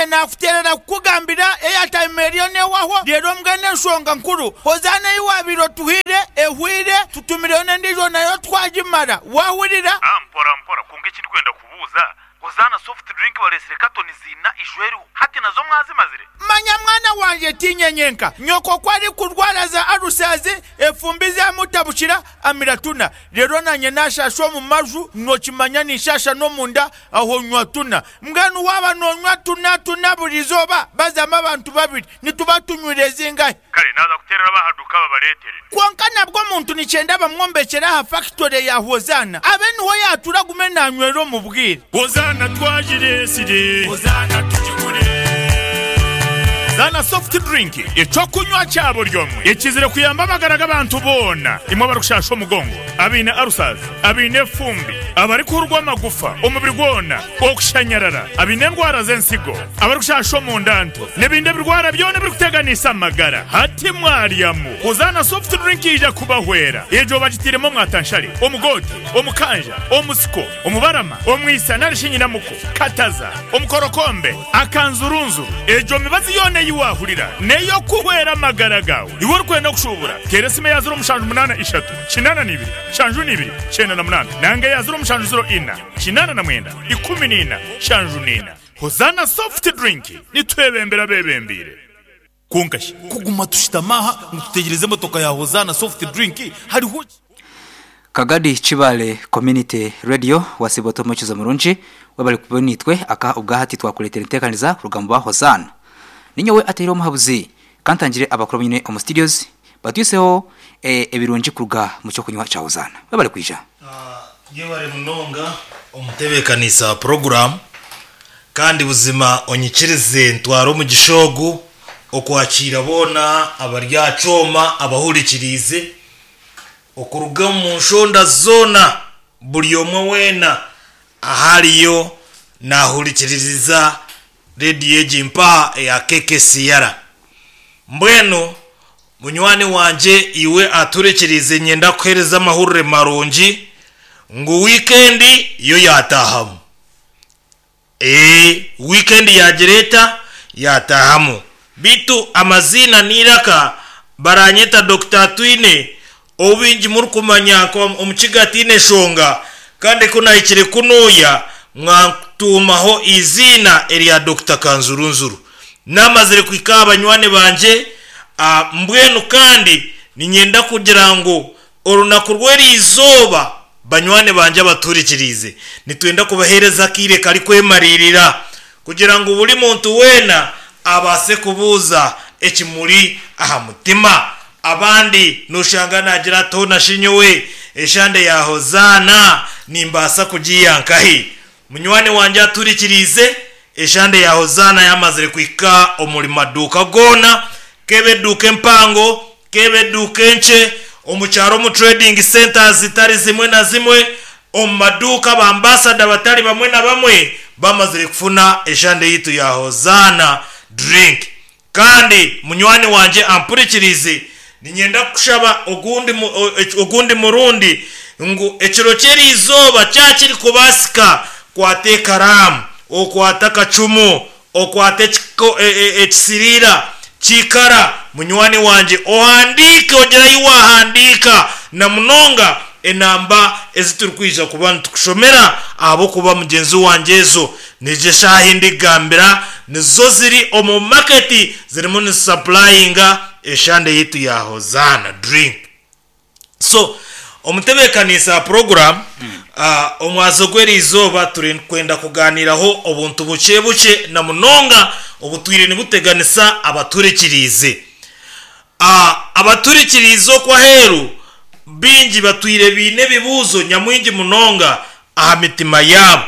Nanye naakuteerera kukugambira airtime eriyo neehwaho, reero mbwenu enshonga nkuru, Hozaana ei waabaire otuhaire ehweire, tutumireyo n'endiijo nayo twagimara. Waahurira? Ah, mpora mpora, kwonka eki ndikwenda kubuuza, Hozaana soft drink bareetsire katoni ziina ijo eriho, hati nazo mwazimazire? Manya mwana wangye tiinye nyenka, nyoko ku arikurwara za alusazi, efumbi zamutabukira, amira tuna. Reero naanye naashaasha omu maju, nookimanya ninshaasha n'omunda, aho nywa tuna. Mbwenu waaba noonywa tuna tuna buri izooba, bazamu abantu babiri, nituba tunywire zingahi? Kare naaza kuteerera ab'aha duuka babareetere. Kwonka nabwo omuntu nikyenda bamwombekyere aha fakitore ya Hozaana, abe niho yaatuura agume naanywera omu bwire. Hozaana twagireetsire. Hozaana tugigure. Zaana Soft Drink, eky'okunywa kya buri omwe ekizire kuyamba amagara g'abantu boona, imwe abarikushaasha omugongo, abaine ulcers, abaine efumbi, abarikuhurwa amagufa omubiri gwona, okushanyarara, abaine endwara z'ensigo, abarikushasha omunda nto, n'ebindi ebirwara byona ebirikuteganisa amagara. Hati mwaryamu Hozaana Soft Drink yaija kubahwera. Egyo bagitairemu omwatanshare, omugoote, omukanja, omusiko, omubarama, omwisa nari shi nyinamuko, kataza, omukorokombe, akanzurunzuru. Egyo mibazi yoona ei waahurira n'ey'okuhwera amagara gaawe. Iwe orikwenda kushuubura, teera esimu eya 0783 82 72 98 nanga eya 0704 89 14 74. Hozaana Soft Drink, nitwebembera abeebembeire. Kwonka shi kuguma tushutami aha ngu tutegyereze emotoka ya Hozaana Soft Drink hariho ki? Kagadi Kibale Community Radio wasiiba ota omuhekyeza murungi webale kuba naitwe aka obwahati twakuretera entekaniza kuruga muba Hozaana. Ninyowe ateire omuhabuzi kantangire abakuru abunyine omu studios batwiseho ebirungi kuruga mukyokunywa kya Hozaana. Webale kwija. Yebare munonga omutebeekanisa wa puroguraamu kandi buzima onyikirize ntware omugisha ogu okwakiira boona abari aha kyoma abahurikiriize okuruga omu nshonda zoona buri omwe weena ahu ariyo naahurikiririza rediyo egi mpaha eya KKCR. Mbwenu Munywani wangye iwe aturikiriize niinyenda kukuheereza amahurire marungi ngu wiikendi yo yaataahamu. Ee, wiikendi yaagira eta? Yaataahamu. Beitu amaziina n'eiraka baranyeta Dokita Atwine ou baingi murikumanya nka Omukiga Ataine Nshonga kandi ku nahikire kunuuya mwantuumaho eiziina erya Dokita Kanzurunzuru. Naamazire kuhika aha banywani bangye, mbwenu kandi niinyenda kugira ngu orunaku rw'eri izooba banywani bangye abatuhurikiriize, nitwenda kubaheereza akaire karikwemariirira kugira ngu buri muntu weena abaase kubuuza ekimuri aha mutima. Abandi nooshanga naagira ati, Hoona shi nyowe eshande ya Hozaana nimbaasa kugiiha nkahi? Munywani wangye atuhurikiriize, eshande ya Hozaana yamazire kuhika omuri maduuka goona, k'ebe eduuka empango, k'ebe eduuka enkye, omu kyaro omu trading centres zitari zimwe na zimwe, omu maduuka ba ambasada batari bamwe na bamwe bamazire kufuna eshande yaitu ya Hozaana drink. Kandi munywani wangye ampurikiriize, niinyenda kukushaba ogundi ogundi murundi ngu ekiro ky'eri izooba kyaba kirikubaasika, kwata ekaraamu, okwate akacumu, okwate ekisiriira ky'eikara, munywani wangye, ohandiike ogire ahi waahandiika, na munonga enamba ezi turikwija kuba nitukushomera ahabw'okuba mugyenzi wangye ezo Nizo eshaaha ei ndikugambira nizo ziri omu maketi zirimu nizisapurayinga eshande yaitu ya Hozaana drink. So omutebeekaniisa wa puroguraamu, omwazo gw'eriizooba turikwenda kugaaniiraho obuntu bukye bukye na munonga obutwire nibuteganisa abaturikiriize. Abaturikiriize okwo aheeru baingi batwire baine ebibuuzo nyamwingi munonga aha mitima yaabo,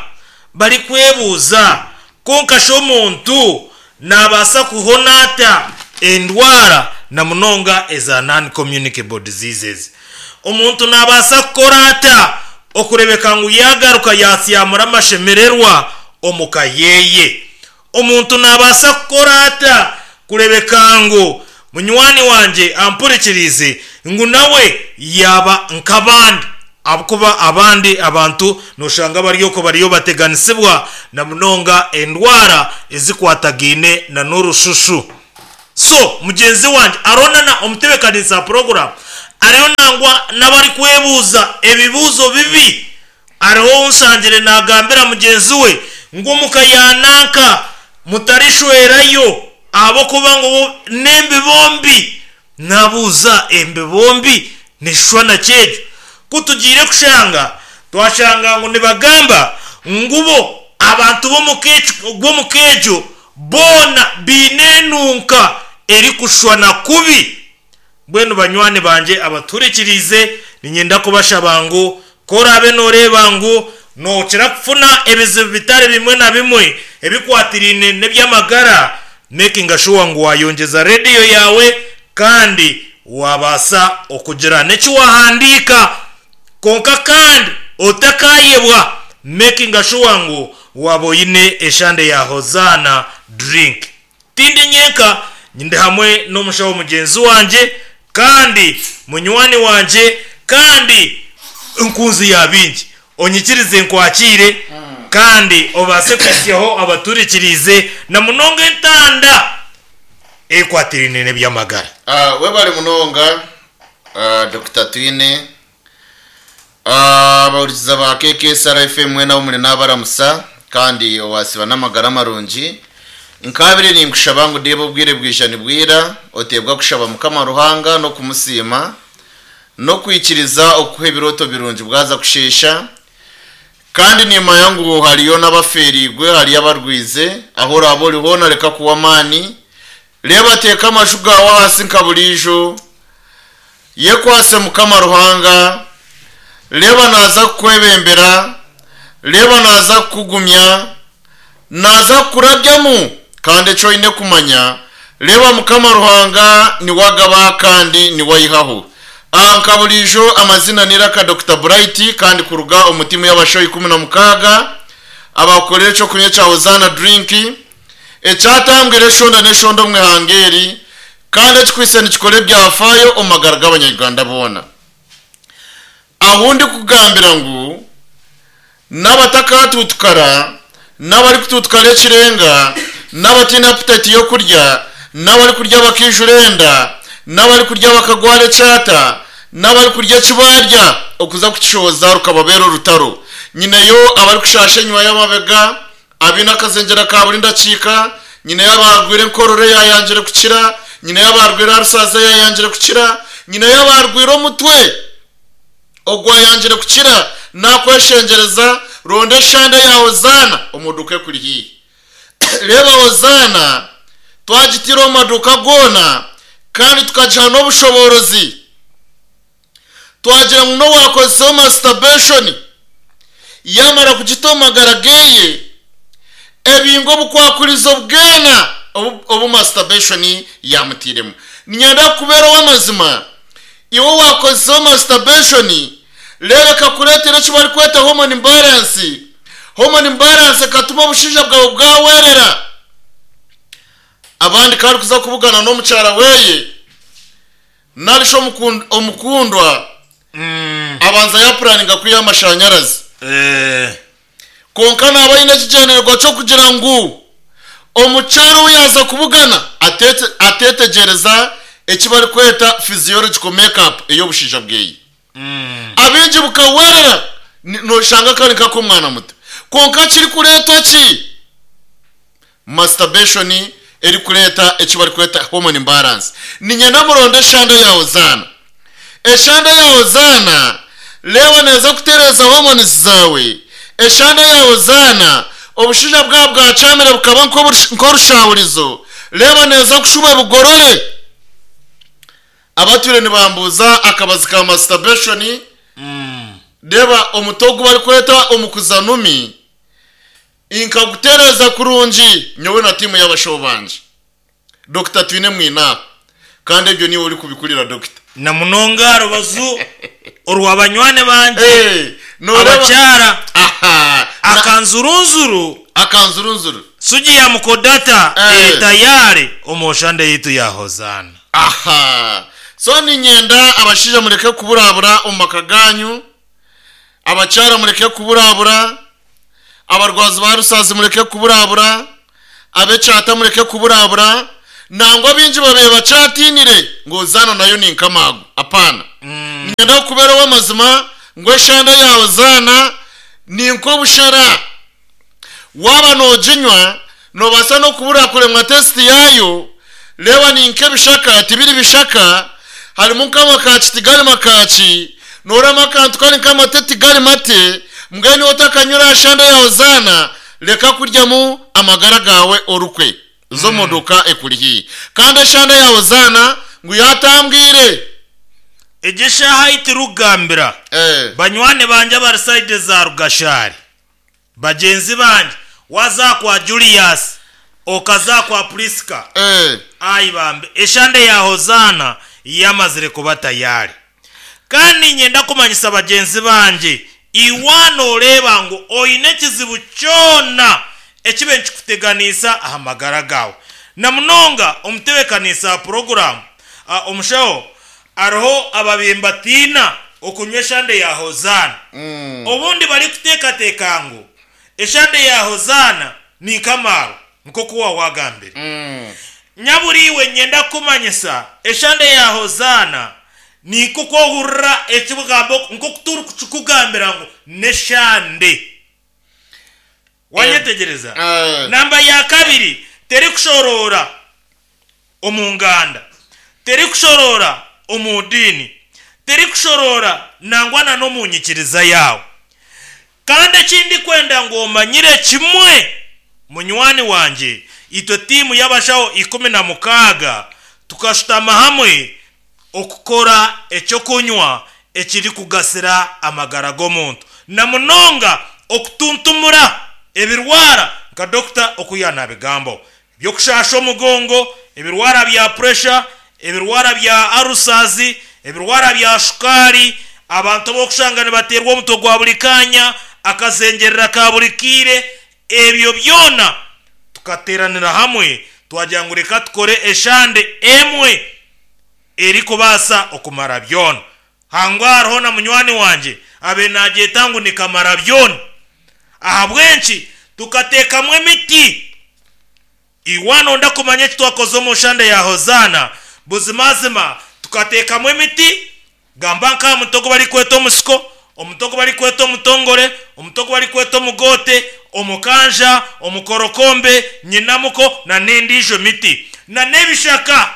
barikwebuuza, Kwonka shi omuntu naabaasa kuhona ata endwara na munonga eza non-communicable diseases? Omuntu naabaasa kukora ata okureebeka ngu yaagaruka yaasyamura amashemererwa omu ka ye? Omuntu naabaasa kukora ata kureebeka ngu munywani wangye ampurikiriize ngu nawe yaaba nk'abandi? Ahabw'okuba abandi abantu noshanga bari okwo bariyo bateganisibwa na munonga endwara ezikwatagaine na n'orushushu. So mugyenzi wangye hariho na na omutebekanisa wa puroguramu ariyo nangwa n'abarikwebuuza ebibuuzo bibi. Hariho ou nshangire naagambira mugyenzi we ngu omuka ya nanka mutarishwerayo ahabw'okuba ngu bo n'embibo mbi. Naabuuza embibo mbi neeshushwana ki egyo? Ku tugiire kushanga, twashanga ngu nibagamba ngu bo abantu b'omu ka egyo boona baine enunka erikushushwana kubi. Mbwenu banywani bangye abatuhurikiriize, niinyenda kubashaba ngu ku oraabe nooreeba ngu nookira kufuna ebizibu bitari bimwe na bimwe ebikwatiraine n'eby'amagara, mekinga shuwa ngu waayongyeza rediyo yaawe kandi waabaasa okugira n'eki waahandiika. Kwonka kandi otakaayebwa mekinga shuwa ngu waaba oine eshande ya Hozaana Drink. Tindi nyenka, ndi hamwe n'omushaho mugyenzi wangye, kandi munywani wangye, kandi nkunzi ya baingi. Onyikirize nkwakiire, kandi obaase kuhitsyaho abaturikiriize, na munonga entanda ekwatiraine n'eby'amagara. Webale munonga Dokita Twine. Abahurikiza ba KKSR FM mwena ahu muri nabaramusa kandi owasiba n'amagara marungi. Nkaabire ninkushaba ngu deeba obwire bwija nibwira oteebwa kushaba Mukama Ruhanga n'okumusiima n'okwikiriza okukuha ebirooto birungi bwaza kusheesha. Kandi nimanya ngu hariyo n'abafeeriirwe, hariyo abarwize. Ahu oraabe ori hoona reka kuhwa amaani. Reeba teeka amaju gaawe ahansi nka buriijo. Yekwatse Mukama Ruhanga. Reeba naaza kukwebembera. Reeba naaza kukugumya. Naaza kukurabyamu. Kandi eki oine kumanya, reeba Mukama Ruhanga niwe agaba kandi niwe aihaho. Aha nka buriijo amazina n'eiraka Dokita Bright kandi kuruga omu tiimu y'abashaho 16 abakukorera eky'okunywa ekya Hosanna Drink. Ekyatambwire eshonda n'eshonda omu ihanga eri kandi ekikwitse nikikora ebyafaayo omu magara g'abanya-Uganda boona. Ahu ndikugambira ngu n'abatakatuutukara, n'abarikutuutukara ekirenga, n'abataine aputayiti y'okurya, n'abarikurya bakaijura enda, n'abarikurya bakagwara ekyata, n'abarikurya eki baarya okuza kukishohoza rukababeera orutaro. Nyineyo abarikushaasha enyima y'amabega, Abaine akazengyera ka buri ndakiika, nyineyo abaarwaire enkorora eyaayangire kukira, nyineyo abaarwaire arusazi eyaayangire kukira, nyineyo abaarwaire omutwe ogwayangire kukira, naakweshengyereza, ronda eshande ya Hozaana omu duuka ekuri haihi. Reeba Hozaana twagitaire omu maduuka goona kandi tukagiha n'obushoboorozi. Twagira ngu n'owaakozeseho masturbation yaamara kugita omu magara geeye, ebinga obukwakurizo bwena obu masturbation yaamutairemu. Niinyenda kukubeera ow'amazima, iwe owaakozeseho masturbation, reero ekakureetera eki barikweta hormone imbalance, hormone imbalance ekatuma obushaija bwawe bwawerera. Abandi ku arikuza kubugana n'omukyara weeye, Nari shi omukundwa abanza yaapuraninga kwiha amashanyarazi. Kwonka naaba aine ekigyendererwa ky'okugira ngu omukyara ou yaaza kubugana ateetegyereza eki barikweta physiological make-up ey'obushaija bweye. Abaingi bukahwerera nooshanga kari nk'ak'omwana muto. Kwonka kirikureetwa ki? Masturbation erikureeta eki barikweta hormone imbalance. Niinyenda muronde eshande ya Hozaana. Eshande ya Hozaana reeba neeza kutereeza hormones zaawe. Eshande ya Hozaana obushaija bwaba bwakyamire bukaba nk'orushahurizo, reeba neeza kushuba ebugorore. Abatwire nibambuuza akabazi ka masturbation, reeba omuti ogu barikweta omukuzanumi. Nkagutereeza kurungi nyowe na tiimu y'abashaho bangye. Dokita Twine mwine aha. Kandi ebyo niiwe orikubikurira Dokita. Na munonga aha rubaju orwa banywani bangye Eh, nooreeba. abakyara. Aha. Na. Akanzurunzuru. Akanzurunzuru. Sugi ya mukodata Eh. eri tayari omu oshande yaitu ya Hozaana. Aha. So niinyenda abashaija mureke kuburabura omu maka gaanyu. Abakyara mureke kuburabura, abarwazi ba rusaazi mureke kuburabura, ab'ekyata mureke kuburabura, nangwa baingi babaire bakyatiinire ngu Hozaana nayo ni nk'amaago. Apaana. Niinyenda kukubeera ow'amazima ngu eshande ya Hozaana ni nk'obushera. Waaba nooginywa, noobaasa n'okubura kuremwa tesiti yaayo. Reeba ni nk'ebishaka, tibiri bishaka, harimu nk'amakaaki tigari makaaki, noorama akantu kari nk'amate tigari mate, mbwenu iwe otakanywire aha shande ya Hozaana, reka kuryamu amagara gaawe orukwe. Za omu duuka ekuri haihi. Kandi eshande ya Hozaana ngu yaatambwire. Egyo eshaaha ahi turikugambira, banywani bangye abari sayidi za Rugashari, Bagyenzi bangye, waaza kwa Julius, okaza kwa Prisca, ai bambe, eshande ya Hozaana yamazire kuba tayari. Kandi niinyenda kumanyisa bagyenzi bangye, iwe nooreeba ngu oine ekizibu kyona ekibe nikikuteganiisa aha magara gaawe, na munonga omutebeekaniisa wa puroguraamu, omushaho, Hariho ababaire nibatiina okunywa eshande ya Hozaana. Obundi barikuteekateeka ngu eshande ya Hozaana ni nk'amaarwa, nk'oku waawagambire. Nyabura iwe niinyenda kukumanyisa, eshande ya Hozaana ni nk'oku ohurira ekigambo, nk'oku turikukikugambira ngu n'eshande. Wanyetegyereza? Namba ya kabiri, terikushoroora omu nganda, terikushoroora omu diini, terikushoroora nangwa na n'omu nyikiriza yaawe. Kandi eki ndikwenda ngu omanyire kimwe, munywani wangye, itwe tiimu y'abashaho 16 tukashutama hamwe okukora eky'okunywa ekirikugasira amagara g'omuntu na munonga okutuntumura ebirwara nka dokita oku yaanabigambaho, eby'okushaasha omugongo, ebirwara bya puresha, ebirwara bya arusazi, ebirwara bya shukaari, abantu abu orikushanga nibateerwa omutwe gwa buri kaanya, akazengyerera ka buri kaire, ebyo byona tukateeranira hamwe twagira ngu reka tukore eshande emwe erikubaasa okumara byona. Hangwa hariho na munywani wangye abaire naagyeta ngu ni kamara byona. Ahabw'enki tukateekamu emiti? Iwe noyenda kumanya eki twakoze omu nshande ya Hozaana? Buzimazima tukateekamu emiti, gamba nk'aha muti ogu barikweta omusiko, omuti ogu barikweta omutongore, omuti ogu barikweta omugoote, omukanja, omukorokombe, nyinamuko n'endiijo miti. N'ebishaka.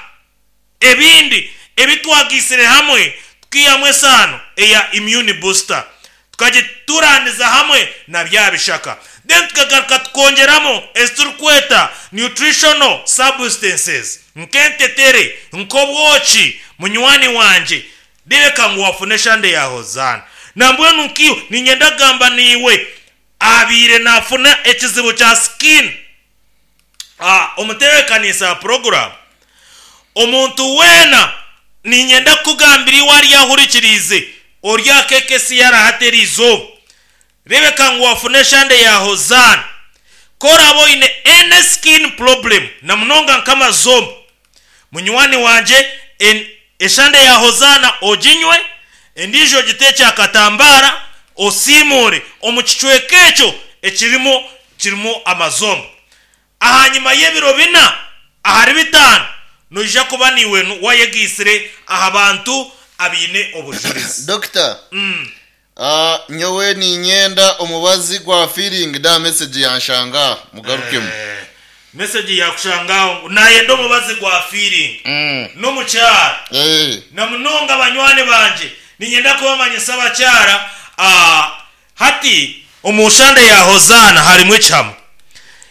Ebindi ebi twagaitsire hamwe tukiihamu esaano eya immune booster tukagiturandiza hamwe na bya bishaka then tukagaruka tukongyeramu ezi turikweta nutritional substances nk'entetere, nk'obwoki. Munywani wangye reebeka ngu wafuna eshande ya Hozaana. Nambwenu nkaiwe niinyenda kugamba naiwe abaire nafuna ekizibu kya skin. Omutebeekanisa wa puroguraamu, Omuntu weena niinyenda kukugambira iwe ari ahurikiriize ori aha KKCR hati eri izooba, reebeka ngu waafuna eshande ya Hozaana. Ku oraabe oine any skin problem na munonga nk'amazombo, munywani wangye eshande ya Hozaana oginywe, endiijo ogiteekye aha katambaara osiimuure omu kicweka ekyo ekirimu kirimu amazombo. Ahanyima y'ebiro bina ahari bitaano, noija kuba naiwe wayegaitsire aha bantu abaine obujurizi. Dokita, nyowe niinyenda omubazi gwa feeling da message yanshanga aha mugarukemu. Message yakushanga aho ngu nayenda omubazi gwa feeling n'omukyara. Na munonga banywani bangye niinyenda kubamanyisa abakyara Hati, omu nshande ya Hozaana harimu ekihama.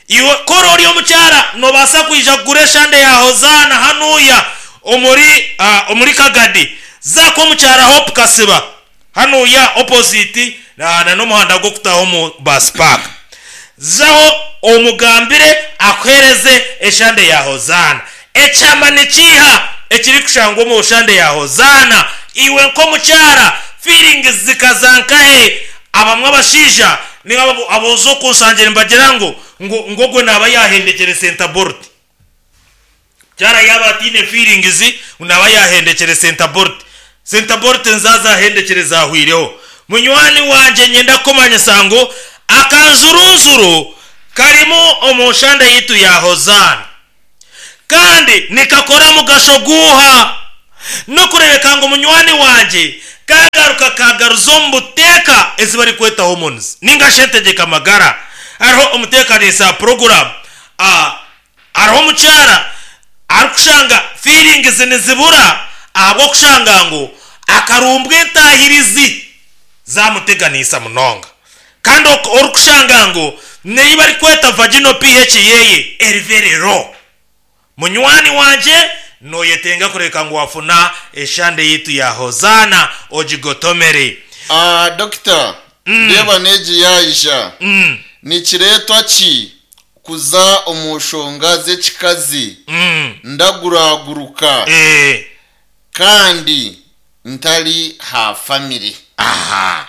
Iwe ku ori ori omukyara, noobaasa kwija kugura eshande ya Hozaana hanuuya omuri, omuri Kagadi. Za kw'omukyara Hope Kasiba, hanuuya opposite na, na n'omuhanda gw'okutaaha omu bus park. Zaho omugambire akuheereze eshande ya Hozaana. Ekihama nikiiha ekirikushangwa omu shande ya Hozaana? Iwe nk'omukyara, feelings zikaza nkahe? Abamwe abashaija ninga abooza okunsangira nibagira ngu ngu ogwe naaba yaahendekyere center bolt. Mukyara yaaba ataine feelings ngu naaba yaahendekyere center bolt. Center bolt nzaaza ahendekyere zaahwireho. Munywani wangye nyenda kukumanyisa ngu akanjurunjuru karimu omu nshanda yaitu ya Hozaana. Kandi nikakora mugasho guuha? N'okureebeka ngu munywani wangye kaagaruka kaagaruza omu buteeka ezi barikweta hormones ninga shi entegyeka magara. Hariho omuteekaniisa wa puroguraamu hariho omukyara arikushanga feelings nizibura ahabw'okushanga ngu akarumbwa entaahirizi zaamuteganiisa munonga. Kandi orikushanga ngu n'ei barikweta vaginal pH yeye eri very low. Munywani wangye, noyetenga kureeka ngu wafuna eshande yaitu ya Hozaana ogigotomere. Aah Dokita, ndeeba n'egi yaija. Nikireetwa ki kuza omu nshonga z'ekikazi ndaguraguruka kandi ntari ha famire? Aha.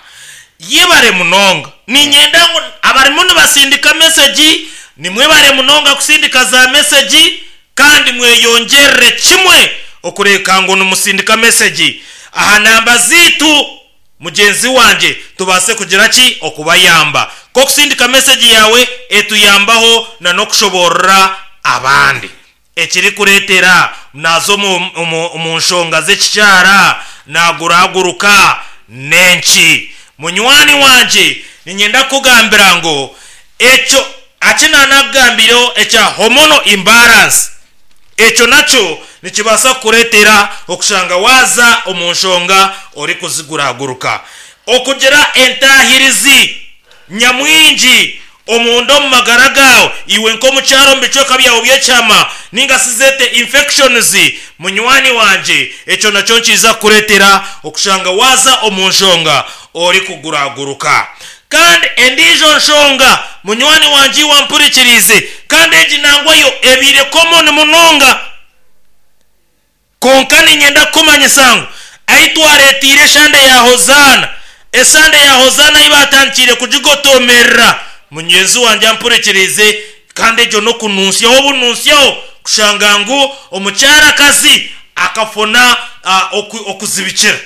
Yebare munonga. Niinyenda ngu abarimu nibasindika mesegi, nimwebare munonga kusindika za mesegi kandi mweyongyerere kimwe okureeka ngu nimusindika mesegi aha namba zaitu mugyenzi wangye tubaase kugira ki? Okubayamba. Nk'okusindika mesegi yaawe etuyambaho na n'okushoboorora abandi. Ekirikureetera naaza omu nshonga z'ekikyara naaguraguruka n'enki? Munywani wangye, niinyenda kukugambira ngu ekyo aki naanakugambiireho ekya hormonal imbalance, ekyo nakyo nikibaasa kukureetera okushanga waaza omu nshonga orikuziguraguruka. Okugira entaahirizi nyamwingi omunda omu magara gaawe, iwe nk'omukyara omu bicweka byawe by'ekyama, ninga shi zeete infections, munywani wangye, ekyo nakyo nikiija kukureetera okushanga waaza omu nshonga orikuguraguruka. Kandi endiijo nshonga, munywani wangye iwe ampurikiriize, kandi egi nangwa yo ebaire common munonga, Kwonka niinyenda kukumanyisa ngu ahi twareeteire eshande ya Hozaana, esande ya Hozaana ahi baatandikiire kugigotomerera, mugyenzi wangye ampurikiriize, kandi egyo n'okununsyaho obununsyaho kushanga ngu omukyarakazi akafuna okuzibikira.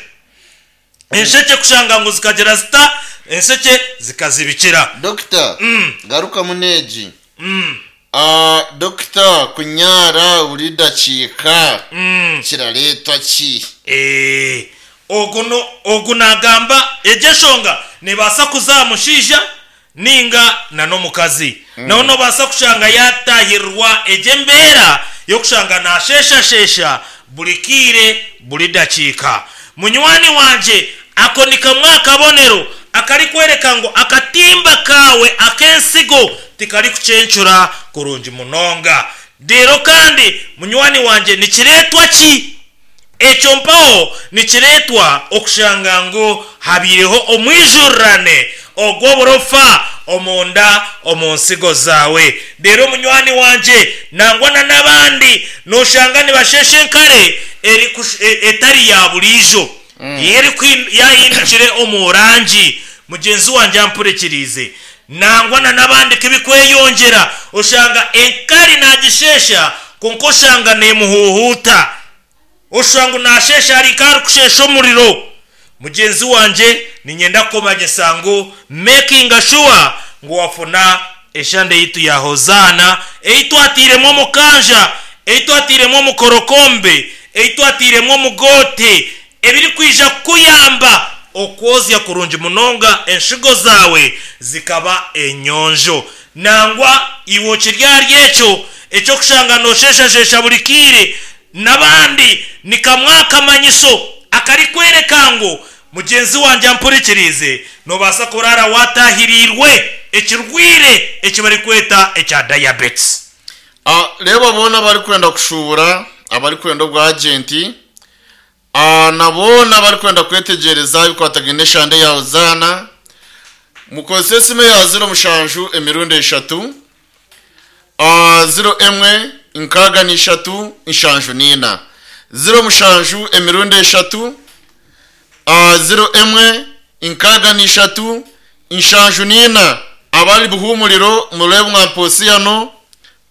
Enshekye kushanga ngu zikagira zita? Enshekye zikazibikira. Dokita, garukamu n'egi. Dokita, kunyaara buri dakiika kirareetwa ki? Ogu no, ogu naagamba egyo enshonga neebaasa kuza aha mushaija ninga na n'omukazi. Nawe noobaasa kushanga yaataahirirwa egyo embeera y'okushanga naasheeshasheesha buri kaire, buri dakiika. Munywani wangye, ako ni kamwe aha kabonero akarikworeka ngu akatimba kaawe ak'ensigo tikarikucencura kurungi munonga. Reero kandi munywani wangye nikireetwa ki? Ekyo mpaho nikireetwa okushanga ngu habaireho omwijurirane ogw'oburofa omunda omu nsigo zaawe. Reero munywani wangye, nangwa na n'abandi nooshanga nibasheesha enkare etari ya buriijo, yaahindukire omu rangi. Mugyenzi wangye ampurikiriize. Nangwa na n'abandi ku bikweyongyera, oshanga enkari naagisheesha kwonka oshanga neemuhuuhuuta. Oshusha ngu naasheesha ari nk'arikusheesha omuriro. Mugyenzi wangye, niinyenda kukumanyisa ngu mekinga shuwa ngu wafuna eshande yaitu ya Hozaana ei twatairemu omukanja, ei twatairemu omukorokombe, ei twatairemu omugoote, ebirikwija kukuyamba okwozya kurungi munonga enshigo zaawe zikaba enyonjo. Nangwa iwe okiri ahari ekyo eky'okushanga noosheeshasheesha buri kaire n'abandi, ni kamwe aha kamanyiso akarikworeka ngu mugyenzi wangye ampurikiriize. Noobaasa kuraara waataahiriirwe ekirwaire eki barikweta ekya diabetes. Reeba boona abarikwenda kushuubura, abarikwenda obwagenti, Na boona abarikwenda kwetegyereza ebikwatagaine n'eshande ya Hozaana, mukozese esimu eya ziro mushanju emirundi eshatu, ziro emwe nkaaga na ishatu nshanju n'ina. Ziro mushanju emirundi eshatu, ziro emwe nkaaga na ishatu nshanju n'ina. Abari Buhumuriro mureebe mwa Posiyano,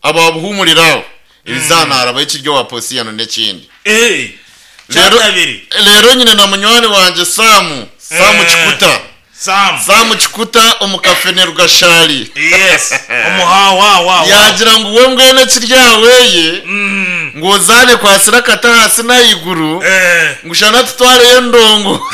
Aba Buhumuriro abo, erizaana harabaho ekiri owa Posiyano n'ekindi. Eh, Reero kyatabiri. reero nyine na munywani wangye Sam, Sam Eh. Kikuta. Sam. Sam Kikuta omu Kafene Rugashari. Yes. Omuhawawawa. Yaagira ngu we mbwenu ekiri aha weye ngu ozaane kwasire akati ahansi n'ahaiguru Eh. ngu shana tutwareyo endongo.